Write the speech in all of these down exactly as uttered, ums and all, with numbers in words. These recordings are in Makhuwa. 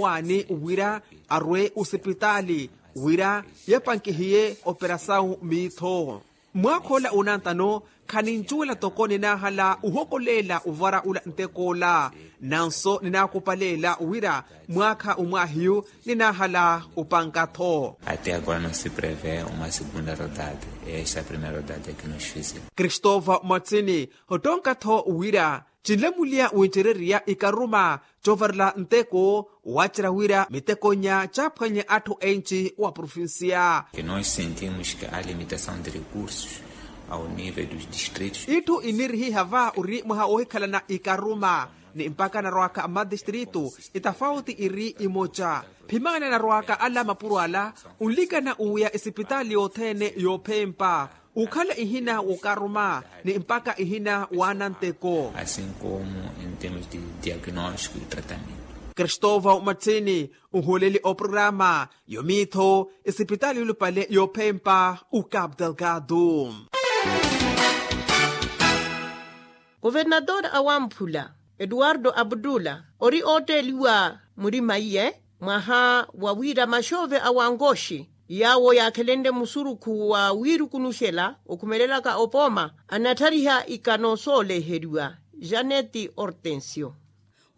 Waani wira arwe osipitaali wira yapankihiye operasawu miitho. Mwaakha ola onantano khanincuwela toko ninaahala ohokoleela ovara ula ntek'ola. Nanso ninaakupaleela wira mwaakha omwaahiyu ninaahala opanka-tho. Até agora não se prevê uma segunda rodada. Esta é a primeira rodada que nos fizeram. Christopher Matsini, ottonka-tho wira cinlamuliya wincereriya ikaruma covarela nteko wacerya wira mitekonya caaphwanye atthu enci wa provincia. Nós sentimos que a limitação de recursos ao nível dos distritos. Itthu inirihiha va ori mwaha woohikhalana ikaruma ni mpakha anarwaka mmadistritu itafauti iri imoca. Phimani anarwaka ala mapuro ala onlikana owiya esipitaali yothene yoophempa okhala ihina wookaruma ni mpakha ihina waana nteko. Asin komu en termos de diagnóstico e tratamento. Christopher Matsini, ohooleli oprograma yomiitho esipitaali yolupale yoophempa ocapu delgado. Kuvernator a wamphula, eduardo abdula, ori ootteeliwa murima iye mwaha wa wira maxoove a wankoxi yaawo yaakhelenle musurukhu wa wiirukunuxela okhumelelaka opooma anatthariha ikano sooleheriwa. Janeti hortensio.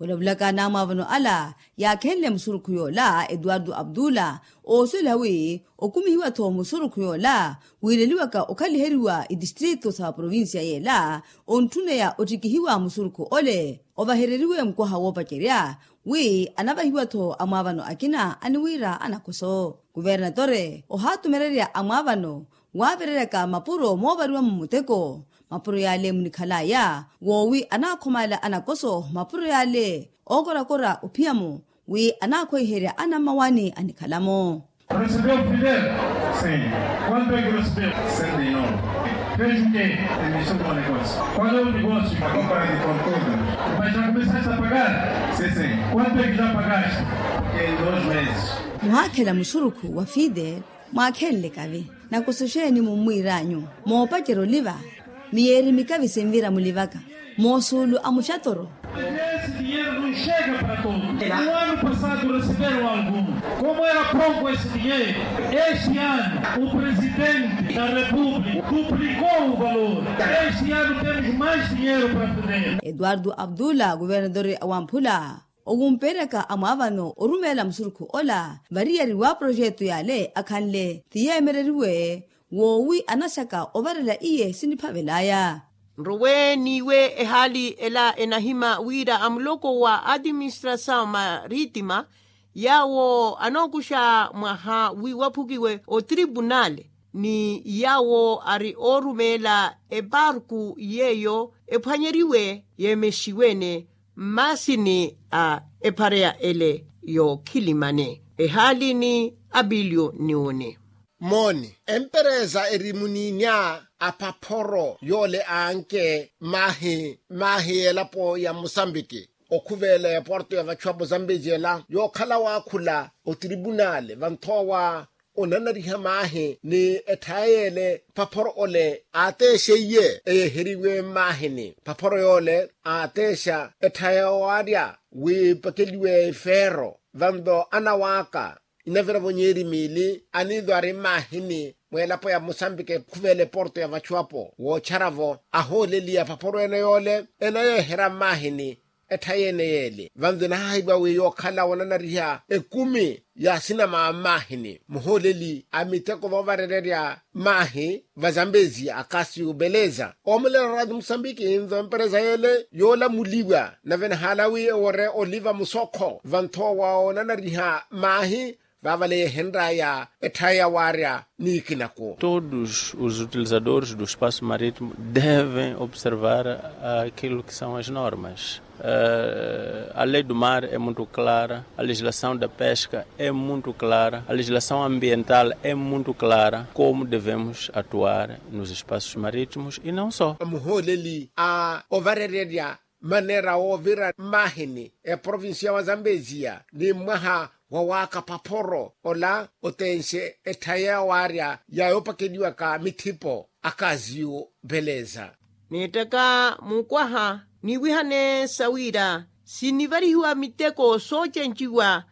Olavulaka anamwaavano ala yaakhenle musurukhu yoola eduardo abdula, oosuwela wi okumihiwa-tho musurukhu yoola wiileliwaka okhaliheriwa itistritu sa provincia yeela ontthuneya ottikihiwa musurukhu ole ovahereriwe mukwaha woopacerya wi anavahiwa-tho amwaavano akina aniwiira anakoso. Kuvernatore ohaatumererya amwaavano waavereryaka mapuro moovariwa-mo muteko. Mapuro yaale munikhalaya woowi anaakhomaala anakoso mapuro yaale ookorakora ophiya-mo wi anaakhweiherya anammawaani anikhala-mo. Recebeu fidel? Sim. Quanto é que recebeu? Cento e nove. Fez o quê? Iniciou com o negócio. Qual é o negócio? A compra de conteúdo. Mas já começaste a pagar? Sim, sim. Quanto é que já pagaste? Em dois meses. Muhaakhela musurukhu wa fidel mwaakhenle kavi nakoso xeeni mummwiiranyu? Moopacerya oliva miyeeri mikavi sinvira mulivaka moosuulu a muxatoro. Esse dinheiro não chega para todos. No ano passado receberam algum. Como era pouco esse dinheiro, este ano o presidente da república duplicou o valor. Este ano temos mais dinheiro para poder. Eduardo abdula kuvernadori a wamphula owumpeeryaka amwaavano orumeela musurukhu ola variyari wa projeto yaale akhanle ti yeemereriwe woowi anaxaka ovarela iye siniphavelaya. Nrowe n'iwe ehaali ela enahima wira amuloko wa administrasaw marittima yaawo anookuxa mwaha wi waphukiwe otripunale ni yaawo ari oorumeela eparku yeeyo ephwanyeriwe yeemexiwe-ene mmaasini a ephareya ele yookhilimane ehaali ni apiliyo niwone. Mooni empereza eri muniinya aphaphoro yoole aanke maahi maahi y'elapo ya musambiki okhuveela eporto ya vachuapo zambeziyela yookhala waakhula otripunale vanthoowa onanariha maahi ni etthaya yeele phaphoro ole aateexe iye eyeheriwe mmaahini phaphoro yoole aateexa etthaya waarya wi epakeliwe efeero vanto anawaaka inaviravo nyeeri miili aniizo ari mmaahini mweelapo ya musambiki ekhuveela eporto ya vachuapo wootxaravo ahooleliya phaphoro ene yoole enayeeherya mmaahini etthaya ene yeele vanto enahaahiviwa wi yookhala wonanariha ekumi ya sinama mmaahini muhooleli a miteko voovarererya maahi vazambezi akasi ubeleza oomulela radi musambiki nto empereza yeele yoolamuliwa nave enahaala wi ewore oliva musokho vanthoowa wonanariha maahi vaavale yeehenraya etthaya waarya niikinako. Todos os utilizadores do espaço marítimo devem observar aquilo que são as normas. A lei do mar é muito clara, a legislação da pesca é muito clara, a legislação ambiental é muito clara como devemos atuar nos espaços marítimos e não só. Muhooleli a ovarererya maneera woovira mmaahini eprovincia wa zambezia ni mwaha wa waaka phaphoro ola otenxe etthaya yawaarya yaayoopakeliwaka mithipo akaziyu beleza. Neettaka mukwaha niwihane sawiira sinivarihiwa miteko soocenciwa